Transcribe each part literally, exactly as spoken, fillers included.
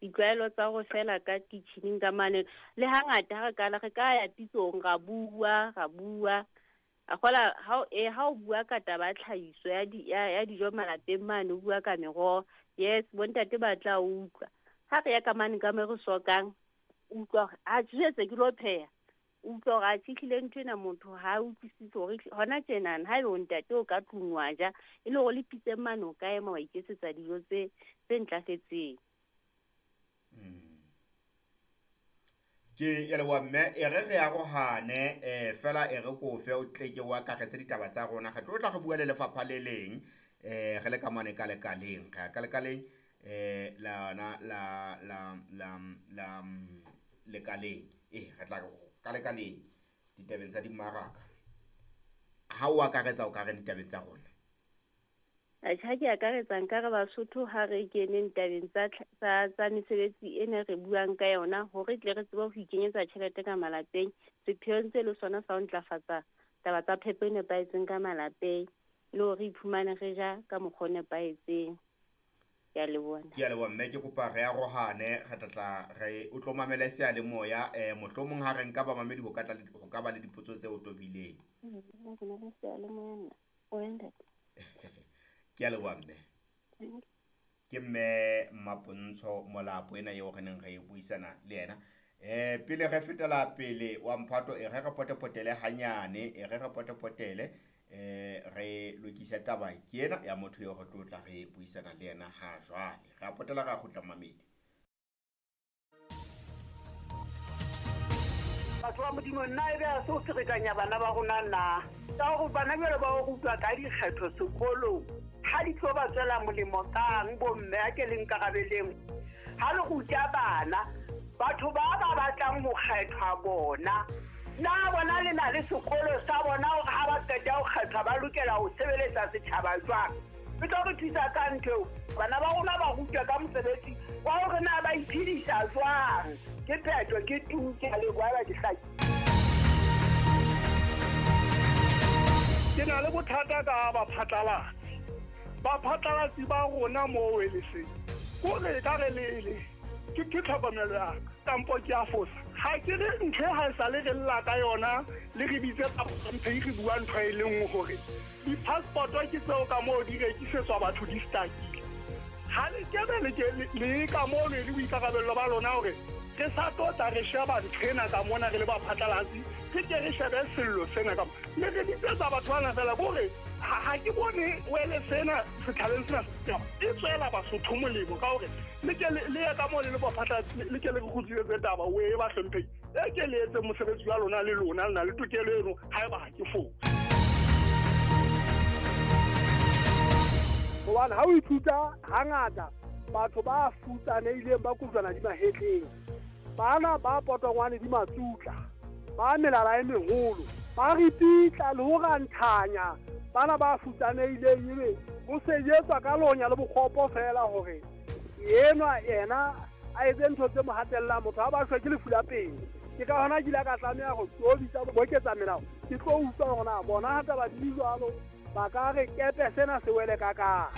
Ditlwaelo tsa go fela ka kitchening ka mane le hangata ha re kala re ka ya pitsong ra bua ra bua a gola ha e ha o bua ka taba tlhahiso ya di ya dijo malapeng mane o bua ka meroho yes bontate ba tla utlwa ha re ya ka mane ka me re sokang utlwa a tjetse ke lo pheha utlwa hore a tjhihlile ntho ena motho ha utlwisise hore hona tjenana ha ebe o ntate o ka tlung wa ja e le hore le pitse mane o ka ema wa iketsetsa dijo tse tse ntlafetseng. Ke ya leboha mme e re re arohane eh fela e re kofe o tleke wa karetse ditaba tsa rona re tlo tla re bua le lefapha le leng eh re le ka mane ka lekaleng re ka lekaleng eh la na la la la la lekaleng eh re tla ka lekaleng ditabeng tsa dimaraka ha o akaretsa o ka re ditabeng tsa rona. Atjha ke akaretsa nka re Basotho ha re keneng tabeng tsa tsa tsa mesebetsi ena re buang ka yona hore tle re tsebe ho ikenyetsa tjhelete ka malapeng sepheong se le sona sa ho ntlafatsa taba tsa phepo e nepahetseng ka malapeng le hore re iphumane re ja ka mokgwa o nepahetseng. Ke a leboha. Ke a leboha mme ke kopa re arohane re tla tla re o tlo mamele seyalemoya eh mohlomong ha re nka ba mamedi ho ka tla ho ka ba le dipotso tse o tobileng. Ke a leboha mme. Ke mme Mapontsho Molapo ena eo re neng re buisana le yena. Eh pele re fetela pele wa mphato e re re potepotele hanyane e re re potepotele eh re lokisa taba ke ena ya motho eo re tlo tla re buisana le yena ha jwale. Re potela ra kgutla mamedi. Batho ba Modimo nna ebe a se o ferekanya bana ba rona na ka hore bana jwale ba o rutwa ka dikgetho sekolong ha di tlo ba tswela molemo kang bomme a ke le nkarabeleng ha le ruta bana batho ba ba batlang ho kgethwa bona na bona le na le sekolo sa bona hore ha ba qeta ho kgethwa ba lokela ho sebeletsa setjhaba jwang e tlo re thusa ka ntho bana ba rona ba rutwa ka mosebetsi wa hore na ba iphedisa jwang ke phetho ke tu ke a leboha ba ke hlaki. Ke na le bothata ka baphatlalatsi baphatlalatsi ba rona mo weleseng ko re ka re lele ke ke tlhokomelo ya ka kampo ke a fosa ha ke re ntho ha e sa le re lla ka yona le re bitse mphe re bua ntho e le nngwe hore di-passport ke tseo ka moo di rekisetswa batho di stakile ha le kebe le ke le ka moo le le boikarabello ba lona hore re sa tlo tla re sheba ntho ena ka mona re le baphatlalatsi re ke re shebe sello sena ka le re bitsetsa batho bana fela kore ha ke bone wele sena setjhabeng sena e tswela Basotho molemo ka hore le ke le ye ka moo le le baphatlalatsi le ke le re kgutlisetse taba o e ba hlomphehile e ke le etse mosebetsi wa lona le lona le na le tokelo eno haeba ha ke fose. Hobane ha o ithuta hangata batho ba futsanehileng ba kojwana di mahetleng bana ba potongwane di matsutla ba melala e meholo ba ripitla le ho ranthanya bana ba futsanehileng ebe ho sejetswa ka lonya le bokgopo fela hore enwa yena a etse ntho tse mo hatellang motho ha ba shwe ke lefu la pele. Ke ka hona ke ile ka tlameha ho tobitsa boketsa melao ke tlo utlwa hore na bona ha taba di jwalo ba ka re kepe sena se wele ka ka.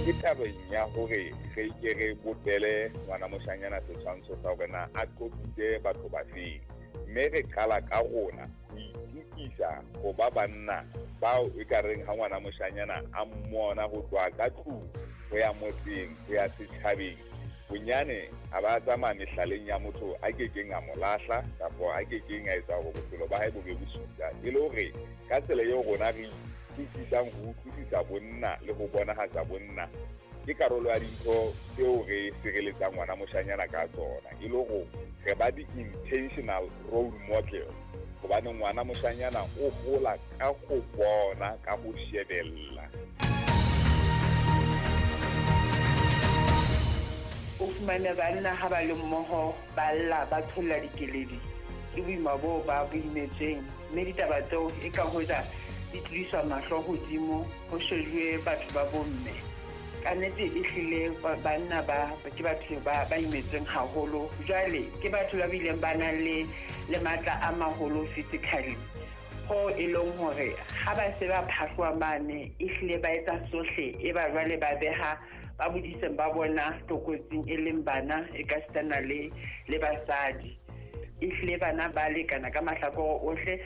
Ke tabeng ya hore re ke re bopele ngwana moshanyana setshwantsho sa hore na a qopitse batho ba feng mme re qala ka rona ho itukisa ho ba banna bao e ka reng ha ngwana moshanyana a mmona ho tloha ka tlung ho ya motseng ho ya setjhabeng bonyane a ba tsamaya mehlaleng ya motho a kekeng a mo lahla kapa a kekeng a etsa hore bophelo ba hae bo be bosula e le hore ka tsela eo rona re utlwisisang ho utlwisisa bonna le ho bonahatsa bonna ke karolo ya dintho tseo re sireletsang ngwana moshanyana ka tsona e le hore re ba di-intentional role model hobane ngwana moshanyana o hola ka ho bona ka ho shebella. O fumane banna ha ba le mmoho ba lla ba tholla dikeledi ke boima boo ba bo imetsweng mme ditaba tseo e ka hoja di tlodiswa mahlo hodimo ho shejuwe batho ba bomme ka nnete e hlile banna ba ke batho ba ba imetsweng haholo jwale ke batho ba bileng ba nang le le matla a maholo physically Ho e leng hore ha ba se ba phahloa mane ehlile ba etsa sohle e ba jwale ba beha ba bodiseng ba bona tlokotsing e leng bana e ka sitana le le basadi. Ehlile bana ba lekana ka mahlakore ohle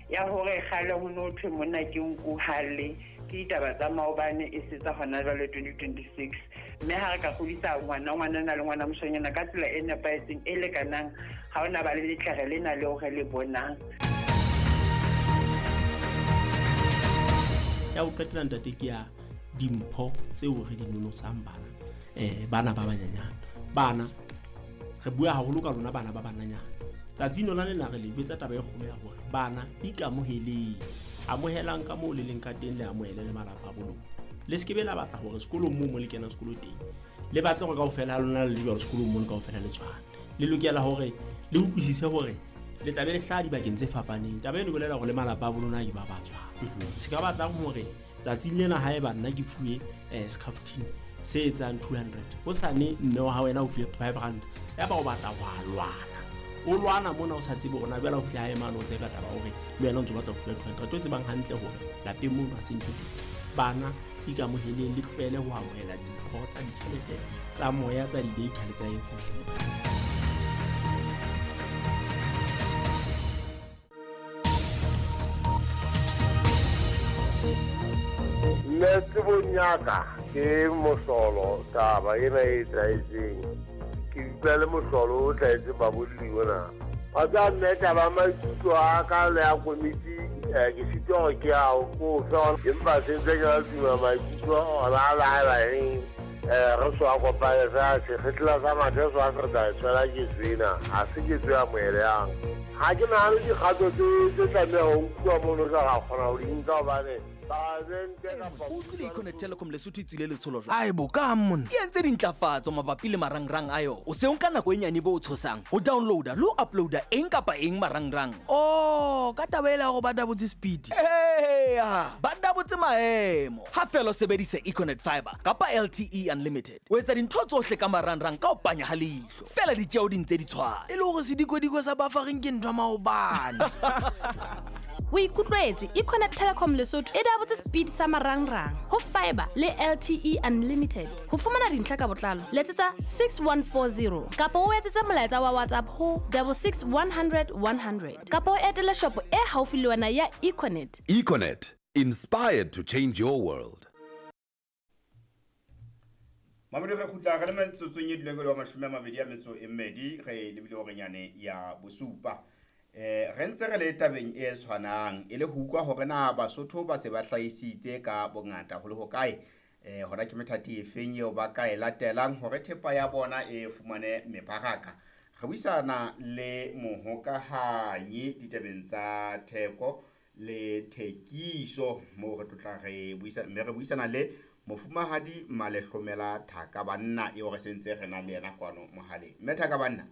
ya hore kgale ho no thwe monna ke nku hale ke ditaba tsa maobane e setsa hona jwale twenty twenty-six. Mme ha re ka kgodisa ngwana ngwanana le ngwana moshanyana ka tsela e nepahetseng e lekanang, ha ona ba le letlere lena leo re le bonang. Ya ho qetela ntate ke ya dimpho tseo re di nonosang bana eh bana ba banyenyane. Bana re bua haholo ka lona bana ba bananyana. Tsatsi lona lena re le jwetsa taba e kgolo ya hore bana ikamoheleng, amohelang ka moo le leng ka teng, le amohele le malapa a bolona. Le se ke be la batla hore sekolong moo mo le kenang sekolo teng le batle hore kaofela ha lona le le jwalo sekolong mono kaofela le tshwane. Le lokela hore le utlwisise hore le tla be le hlaha dibakeng tse fapaneng. Taba eno e bolela hore le malapa a bolona ke ba ba tshwana. Se ka batlang hore tsatsing lena haeba nna ke fuwe eh scaftine se etsang two hundred, hosane mme wa hao wena o fuwe five rand, ya ba o batla wa lwana. O lwana mona o sa tsebe hore na jwale o fihla hae mane o tseka taba hore le wena o ntso batla ho fuwa two hundred. O tsebang hantle hore lapeng mono ha se ntho teng. Bana ikamoheleng, le tlohele ho amohela dimpho tsa ditjhelete tsa moya, tsa di-data le tsa eng hohle. Nna tsebong ya ka ke mohlolo taba ena e etsahetseng. Ke utlwa le mohlolo o hlahetseng babolli ona. Wa tseba mme taba ya maikutlo a ka le ya komiti ke sitwa hore ke ao ko fe, empa se ntse ke la tuma maikutlo ona a le haeba eng re so a kopane fela sekgetla sa mathe so a se re tla e tshwela ketso ena, ha se ketso e amohelehang. Ha ke nahane dikgato tse tlameha ho nkuwa mono re ka kgona ho di nka hobane O utlwile Econet Telecom Lesotho e tswile letsholo jwang? Ae bo ka monna. E entse dintlafatso mabapi le marangrang a yona. O se o nka nako e nyane bo o tshosang ho downloada le ho uploada eng kapa eng marangrang. Oh, ka taba ela hore ba dabotse speed. Eya, ba dabotse maemo. Ha fela o sebedisa Econet Fiber kapa L T E Unlimited. O etsa dintho tsohle ka marangrang ka ho panya ha leihlo. Fela ditjeo di ntse di tshwana. E le hore sedikodiko sa buffering ke ntho ya maobane. O ikutlwetse Econet Telecom Lesotho e dabotse speed sa marangrang ho fiber le L T E Unlimited. Ho fumana dintlha ka botlalo letsetsa six one four zero kapa o etsetse molaetsa wa WhatsApp ho double six one hundred one hundred kapa o etele shopo e haufi le wena ya Econet. Econet, inspired to change your world. Mamedi re kgutla re le metsotsong e duleng wa mashome a mabedi a metso e mmedi re lebile hore nyane ya bosupa. Eh re ntse re le tabeng e tshwanang e le ho utlwa hore na Basotho ba se ba hlahisitse ka bongata ho le hokae, eh hona ke methati e feng eo ba ka e latelang hore thepa ya bona e fumane mebaraka. Re buisana le mohokahanyi ditabeng tsa theko le thekiso moo re tlotla re buisana mme re buisana le mofumahadi Malehlomela Thakabanna eo re sentse re na le yena kwano mohaleng. Mme Thakabanna,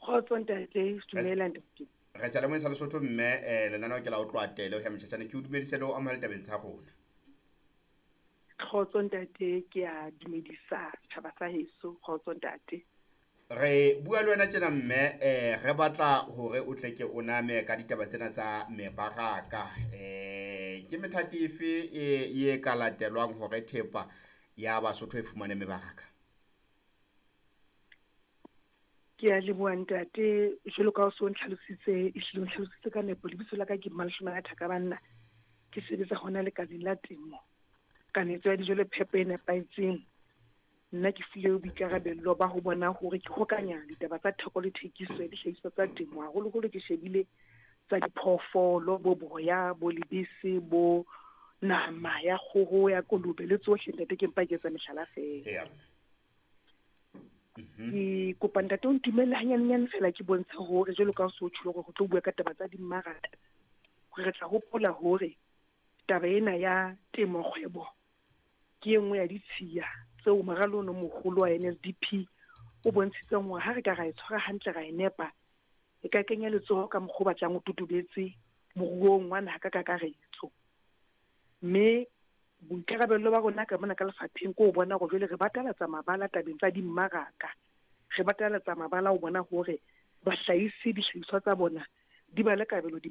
Kgotso ntate, dumela ntate. Re sa le mo sa Lesotho mme eh lenaneo ke la o tloa tele ho ya motjhatjhane ke o dumedise le o amohele tabeng tsa rona. Kgotso ntate, ke a dumedisa setjhaba sa heso. Kgotso ntate. Re bua le wena tjena mme eh re batla hore o tle ke o name ka ditaba tsena tsa mebaraka. Eh ke methati efe e e ka latelwang hore thepa ya Basotho e fumane mebaraka? Ke a leboha ntate, jwalo ka o so ntlhalositse, ehlile o ntlhalositse ka nepo. Lebitso la ka ke Malehlomela Thakabanna, ke sebetsa hona lekaleng la temo, kanetso ya dijo le phepo e nepahetseng. Nna ke filwe boikarabello ba ho bona hore ke hokanya ditaba tsa theko le thekiso ya dihlahiswa tsa temo, haholoholo ke shebile tsa diphoofolo, bo boya, bo lebese, bo nama ya kgoho, ya kolobe le tsohle ntate, ke mpa ke etsa mehlala feela. Yeah. Ke kopa ntate o ntumelle hanyanenyane fela ke bontshe hore jwalo ka o so tjholo hore ho tlo bua ka taba tsa dimmaraka, hore re tla hopola hore taba ena ya temo kgwebo ke e nngwe ya ditshiya tseo moralo ono moholo wa N S D P o bontshitseng hore ha re ka ra e tshwara hantle ra e nepa, e ka kenya letsoho ka mokgwa o batlang o totobetse moruong wa naha ka kakaretso. Mme boikarabello ba rona ka mona ka lefapheng ke ho bona hore jwale re batalatsa mabala tabeng tsa dimmaraka, re batalatsa mabala ho bona hore bahlahisi dihlahiswa tsa bona di ba le kabelo di